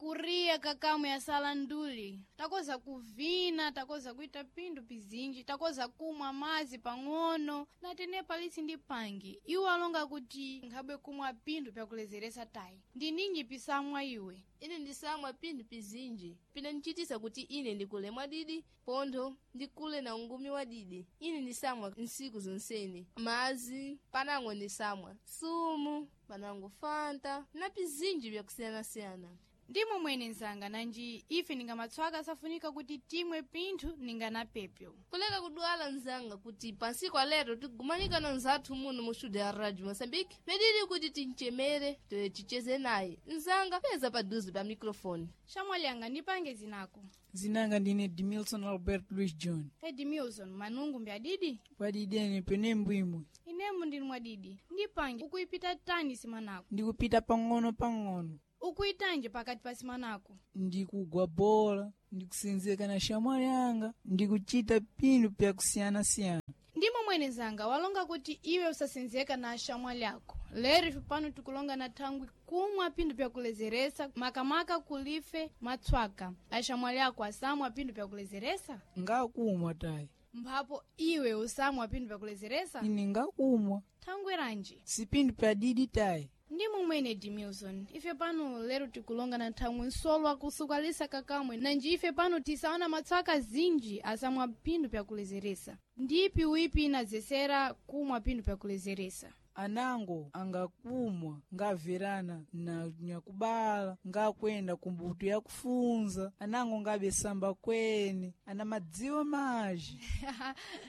Kuriya kakamwe yasala nduli, takoza kuvina, takoza kuita pindu pizinji, takoza kumwa mazi pang'ono na tene palisi ndi pangi. Iwo alonga kuti nkhabwe kumwa pindu pyakulezeresa tayi. Ndi ninji pisamwa iwe? Ine ndisamwa pinthu pizinji pinandichitisa kuti ine ndikule mwadidi, pontho ndikule na ungumi wadidi. Ine ndisamwa nsiku zonsene mazi, panango ndisamwa sumu, panango fanta na pizinji byakusiyanasiyana. Ndimo mwene nzanga, nanji ife ningamatswaka safunika kuti timwe pinthu ninganapepyo. Kuleka kudwala nzanga, kuti pansiku alero tigumanika na nzathu muno mu studio ya Radio Moçambique, medidi kuti tinchemere toye ticheze naye nzanga peza paduze pa microfone. Shamwalyanga, ndipange zinako. Zinanga ndine Dimilson Albert Louis John. Edimilson, manungu mbyadidi? Padidene pene mbwimwe. Inemu ndili mwadidi. Ndipange ukuipita tani simanako? Ndikupita pang'ono pang'ono. Ukuitanje pakati pa simanako? Ndikugwa bola, ndikusenzeka na shamwali yanga, ndikuchita pinthu pyakusiyanasiyana. Ndimo mwene zanga, walonga kuti iwe usasenzeka na ashamwali ako. Lero ife pano tikulonga na thangwi kumwa pinthu pyakulezeresa, makamaka kulife matswaka. Ashamwali ako asamwa pinthu pyakulezeresa? Ngakumwa tayi. Mphapo iwe usamwa pinthu pyakulezeresa? Ine ngakumwa. Thangwi ranji? Si pinthu pyadidi tayi. Ndimo mwene Dimilson, ife pano lero tikulonga na thangwi nsolo akusukalisa kakamwe, nanji ife pano tisaona matswaka zinji asamwa pinthu pyakulezeresa. Ndipi wipi inazesera kumwa pinthu pyakulezeresa? Anango angakumwa ngaverana na nyakubala, ngakwenda kumbuto yakufunza, anango ngabesamba kwene, ana madziwa maji.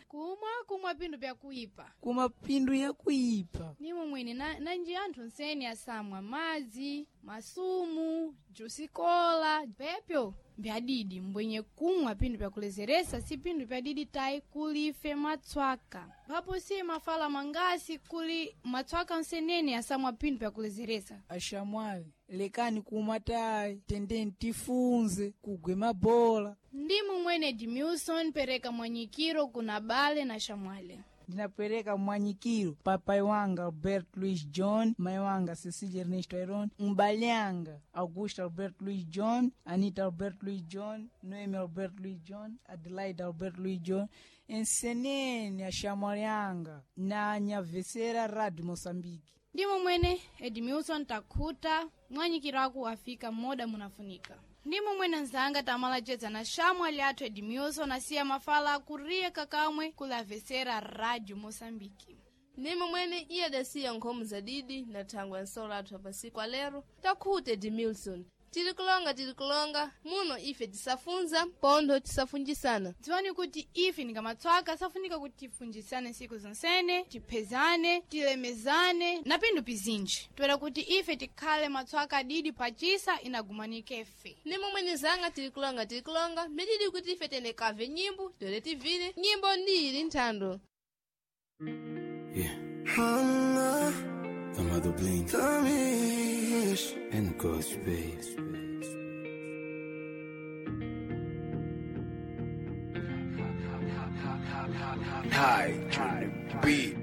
Kumwa kumwa pinthu pyakuipa. Kuma pinthu yakuipa. Ndimo mwene nanji anthu nsene asamwa madzi, masumu, jusikola, pepyo mbyadidi mbwenye kumwa pinthu pyakulezeresa si pinthu pyadidi tayi kulife matswaka. Papo si mafala mangasi kuli matswaka nsenene asamwa pinthu pyakulezeresa. Ashamwali, lekani kumwa tayi, tendeni tifunze kugwe mabola. Ndimo mwene Dimilson, pereka mwanyikiro kuna bale na shamwale. Ndinapereka mwanyikiro papai wanga Albert Louis John, mai wanga Cecilia Ernesto Iron, mbale anga Augusto Albert Louis John, Anita Albert Louis John, Noemi Albert Louis John, Adelaide Albert Louis John, ensenene ashamwali anga na anyavesera Radio Moçambique. Ndimo mwene Edmilson, takhuta mwanyikiro ako afika moda munafunika. Ndimo mwene nzanga, tamalacedza na shamwali athu Edmilson asiya mafala akuriye kakamwe kulavesera Radio Moçambique. Ndimo mwene iye adasiya nkhomo zadidi na thangwe ya nsolo athu apasiku alero. Takhute Dimilson, tili kulonga, tili kulonga muno ife tisafunza pontho tisafunjisana. Dziwani kuti ife ningamatswaka safunika kuti tifunjisane nsiku zonsene, tiphezane, tilemezane na pinthu pizinji, toera kuti ife tikhale matswaka adidi pachisa inagumanike fe. Ndimo mwene zanga, tili kulonga, tili kulonga mididi kuti ife tenekave nyimbo tole tivile nyimbo ndili nthando. Yeah. The mother blink and the ghost babes. High to the beat.